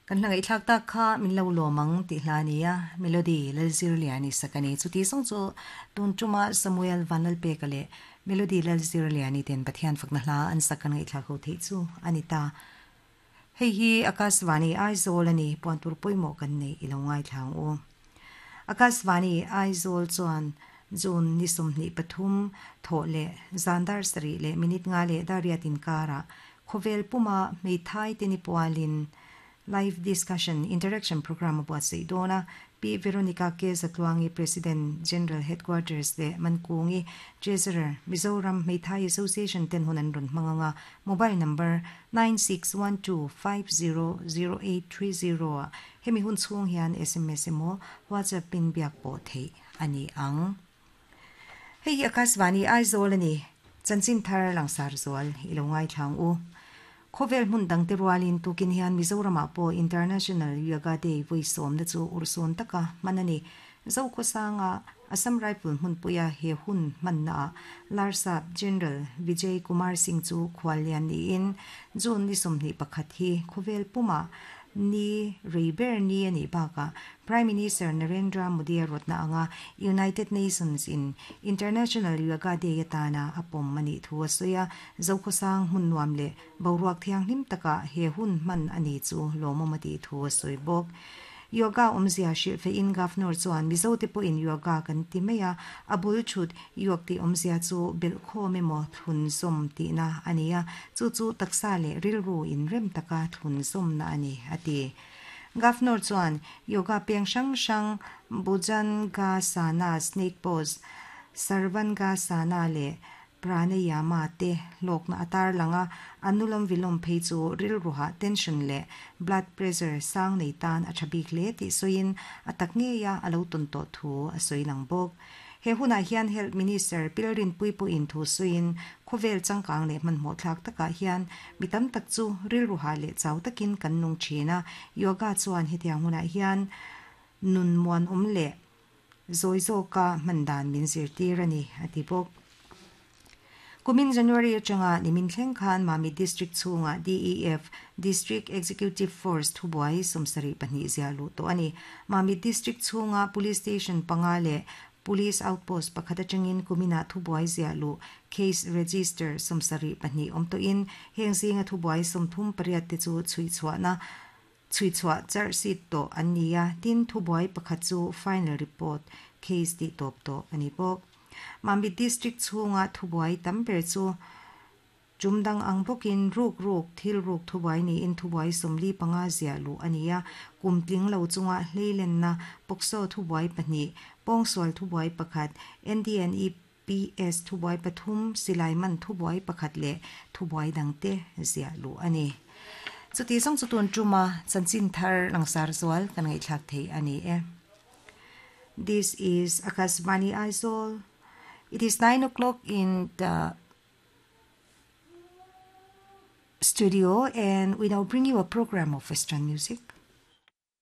Kan hla ngaihthlak tak kha min lo lawm ang tih hla a ni a, Melody Lalzirliani sak a ni. Chuti zawng chu tun tuma Samuel Vanlalpeka leh Melody Lalzirliani ten Pathian fakna hla an sak kan ngaihthlak ho theih chu a ni ta. Hei hi Akashvani Aizawl a ni, puan tur pawimawh kan neih i lo ngaithla ang u. Akashvani Aizawl chuan June ni 23 thawh leh zan dar sarih leh minute nga leh dar riat inkarah khawvel puma hmeithai te ni pualin Live Discussion Interaction Programme a buatsaih dawn a, Pi Veronica K. Zatluangi President, General Headquarters leh Mankungi, Treasurer, Mizoram Hmeithai Association ten hun an rawn hmang ang a, Mobile number, 9612500830 ah hemi hun chhung hian sms emaw WhatsApp in biak pawh theih a ni ang. Hei hi Akashvani Aizawl a ni. Chanchin thar langsar zual i lo ngaithla ang u. Khawvel hmun dangte rualin tukin hian Mizoramah pawh International Yoga Day vawi sawmna chu urhsun taka hman a ni. Zokhawsanga Assam Rifle hmunpuia he hun hmannaah Larsap General Vijay Kumar Singh chu khuallian niin June ni 21 hi khawvel pumah ni rei ber ni a nih bakah Prime Minister Narendra Modi a rawtna anga United Nations in International Yoga Day atana a pawm a nih thu a sawi a, Zokhawsang hmun nuam leh boruak thianghlim takah he hun hman a ni chu lawmawm a tih thu a sawi bawk. Yoga awmzia hrilh feihin Governor chuan Mizote pawhin yoga kan ti mai a, a bul thut yog tih awmzia chu belhkhawm emaw thlun zawm tihna a ni a, chu chu taksa leh rilru inrem taka thlun zawmna a ni, a ti. Governor chuan yoga peng hrang hrang Bhujangasana, Snake Pose, Sarvangasana leh Pranayama te hlawkna a tarlang a, Anulom Vilom phei chu rilruha tension leh blood pressure sang nei tan a tha bik hle tih sawiin a tak ngeia a lo tawn tawh thu a sawi lang bawk. He hunah hian Health Minister Pilrinpui pawhin thu sawiin khawvel changkang leh hmanhmawh thlak takah hian mi tam tak chu rilruha leh chau takin kan nung thin a, yoga chuan hetiang hunah hian nun muanawm leh zawi zawka hman dan min zirtir a ni, a ti bawk. Kumin January atanga nimin thleng khan Mamit District chhungah DEF, District Executive Force, thubuai 72 ziah luh tawh a ni. Mamit District chhunga Police Station panga leh Police Outpost pakhat atangin kuminah thubuai ziah luh, case register, 74 awm tawhin heng zinga thubuai 38 te chu chhuihchhuahna chhuihchhuah charh seat tawh an ni a, tin thubuai pakhat chu final report case tih tawp tawh a ni bawk. Mamit District chhunga thubuai tam ber chu tum dang ang bawkin ruk ruk thil ruk thubuai niin thubuai 45 ziah luh a ni a, kum tling lo chunga hleilenna POCSO thubuai pahnih, pawngsual thubuai pakhat, NDNEPS thubuai pathum, silai man thubuai pakhat leh thubuai dangte ziah luh a ni. Chuti zawng chu tun tuma chanchin thar langsar zual kan ngaihthlak thei a ni e. This is Akashvani Aizawl. It is 9 o'clock in the studio and we now bring you a program of Western music.